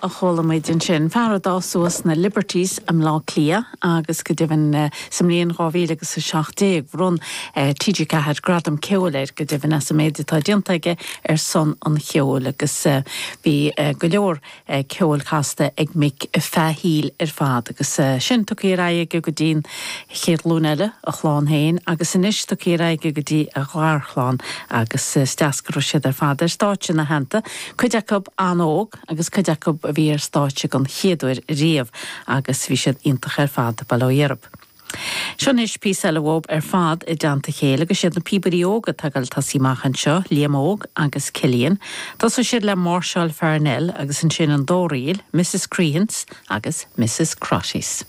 A chuala muid ansin. Fear a d'fhás suas sna Liberties i mBleá Cliath agus go deimhin sa mbliain 2000 agus 17 bhronn TG4 gradam ceoil air go deimhin as an méid atá déanta aige ar son an cheoil agus bhí go leor ceoil casta ag Mick feadh a shaoil ar fad agus sin tugtha ar aghaidh aige go dtí an chéad ghlúin eile, a chlann féin agus anois tugtha ar aghaidh aige go dtí a gharchlann agus is deas go raibh siad ar fad ar stáitse ina theannta, cuid acu an-óg. agus cuid acu a bhí ar stáitse don chéad uair riamh agus bhí siad iontach ar fad, bail ó Dhia orthub. Seo anois píosa eile uathub ar fad i dteannta a chéile agus siad na píobairí óga atá ag dul tosaí amach anseo, Liam Óg agus Cillian. Tosóidh siad le Máirseáil Fear Nell agus ansin an Dóraíl, Mrs Crehan's agus Mrs Crotty's.